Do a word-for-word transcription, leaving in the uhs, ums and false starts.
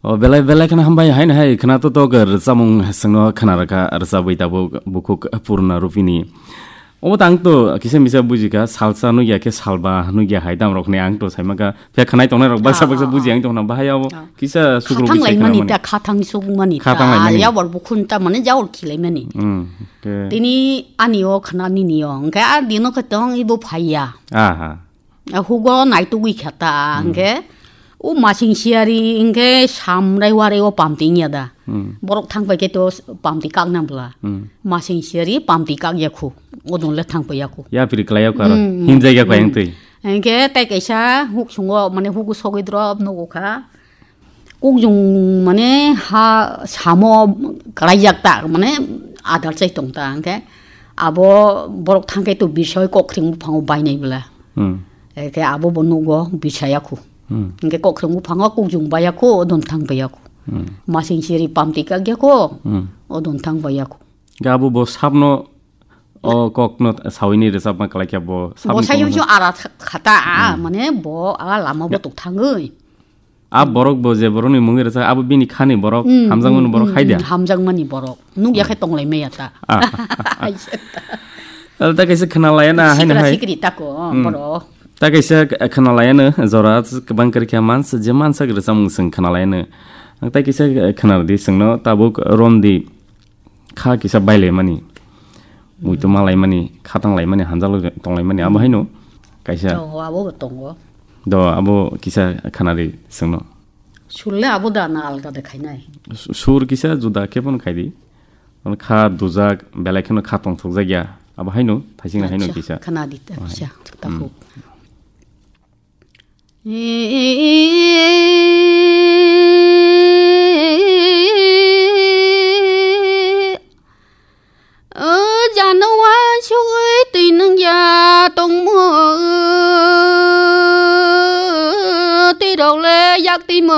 O belai belai kheno hambai, haino hai khwna to tok rwchapmung swngno khwna rwkha, rwchapwi tabuk bukhuk purna rupini. Obo tang to kisa misa bujikha, salsa nukya khe salba nukya hai dam rokni ang to saimakha. Phiya khwnai tongnai rok baksa Ah, baksa ah, buji ah. ang tongna bahai abo Ah. kisa sukrubwi Khathang sai laimani khwnamani. ta, khathang sukmani Khathang ta. laimani. Yawar bukhun ta mane jawar khilaimani. Hmm, okay. Tini ani o khwna nini o. Hwnkhe a dino khe tong ibo phaiya. Aha. A hugo naitugwi kha ta, Hmm. hwnkhe o masing siyari hwnkhe samrai warai o pamti wngya da. Hmm. Borok thangpai khe to pamti kakna bwla. Hmm. Masing siyari pamti kakya khu. Odon le thangpai ya khu. Ya piri kwlai ya khu aro. Hmm, hmm. Himjai ya khu Hmm. ayang twi. Hwnkhe tei kaisa huk sungo mane hugo sogwi drop nugo kha. Kukjung mane ha samo kwlaijak ta, mane adar chai tong ta, hwnkhe abo borok thangkhe to bisoi kokreng buphango bainai bwla. Hmm. Hwnkhe abo bo nugo bisaya khu. Hmm. Hwnkhe kokreng buphango kukjung baya khu, odon thang baya khu. Hmm. Masing siri pamti kak ya khu, Hmm. odon thang baya khu. Hwnkhe abo bo sapno o kokno sawini rwchapma kwlaikha bo sapni Bo sayo kokno. Yo ara kha-, khata, a, Hmm. mane bo a lama bo Ya. tok thangwi. A borok bo je borokni mungwi rwchak, abo bini khani borok, Mm, hamjakmani mm, borok mm, hai da? mm, hamjakmani borok. Nuk ya khe Mm. tonglai maya ta. Ah. Ai se ta. Al ta kaisa khwna laya na, hai na Sikra hai. sikri tako, Mm. borok. Ta kaisa k-, khwna laya no, jora kwbang kwrwi khe mans-, je mansak rwchapmung swng khwna laya no. Ang ta kaisa khwna rwdi swngno, tabuk romdi. Kha kisa bailaimani, muitu Hmm. malaimani, khatang laimani, hanjalo tonglaimani, abo Hmm. haino kaisa. Tongo, abo bo tongo. Do, abo kisa khanari sengno. Surle abo da na alga de khainai. Su-, sur kisa juda khe phano khaidi. Ono kha dujak, belai kheno kha tongthokjak ya. Abo haino, thaisingna haino Acha, kisa. Khanadi ta Oh, hai. kisa, Hmm. takhuk. O jano uansugwi twi nung ya tongmo, twi rok le yak twi mo.